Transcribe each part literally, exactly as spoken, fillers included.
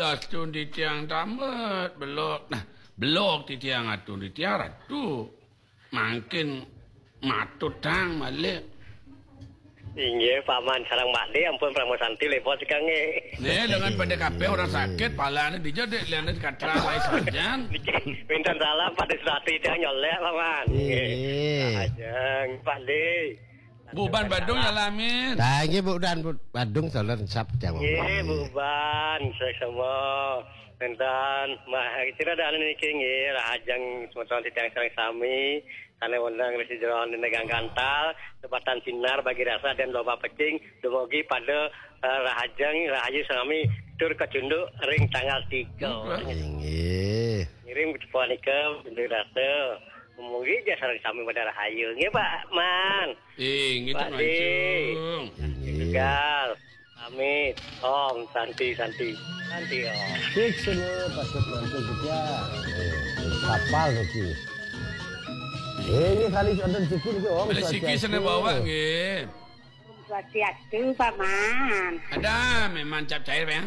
Astun titiang tamet belok. Nah, belok titiang atun titiang ratu. Mangkin matut tang malik. Inggih, Paman sareng Pakde, ampun Parama Santi, lepot sekang nggih. Nih, dengan pada kabeh orang sakit, palane dija dek liane katra lai sajan. Niki, minten salam Pakde Surati titiang nyolek, Paman. Nggih. Nggih. Ajeng, Pakde. Buban Badung ya lamin. Nah, nggih, Buban Badung salam sap titiang. Nggih, Buban, sesama. Enten, mah, kira ada anu niki nggih, rahajeng semeton titiang sareng sami, sane wonten ring jero nenegang gantal, sebatan sinar bagi rasa dan loba pecing, dumugi pada, eh, rahajeng, rahayu sami, tur kacunduk ring tanggal tiga. Inggih. Ngiring punika, bagi rasa, mugi ja sareng sami pada rahayu. Nggih, Pak Man. Inggih, Pak Di. Langsung. Inggih. Tegal. Amit. Om Santi, Santi. Santi, Om. Sik sene patut mantu kita. Eh, kapal niki. Eh, ini kali ada rezeki niki, Om. Ada rezeki sene bawa, nggih. Om Swastiastu, Paman. Ada memang cap cair, ya?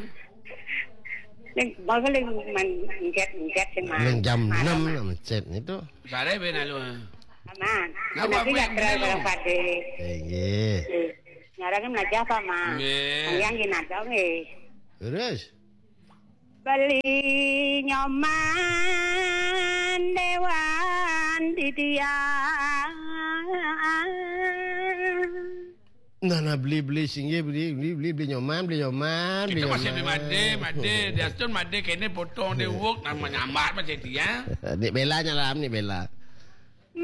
Ning, bawa ning men-, mencet-mencet sing, Man. Ning jam enam lah mencet itu. Sare ben lalu. Paman. Napa, niki Bu, ya, Bu, terakhir, Bu? Pakde. Inggih. Eh, nyarang melajah, Paman. Nggih. Yang gini ada, nggih. Terus? Beli nyoman dewan titiang. Nah, nah, beli, beli, singgih, beli, beli, beli, beli nyoman, beli nyoman, beli nyoman. Kita masih beli made, made. Dia tu made kene potong dia wok, nama nyambat masih dia. Nik Bella nyalam, Nik Bella.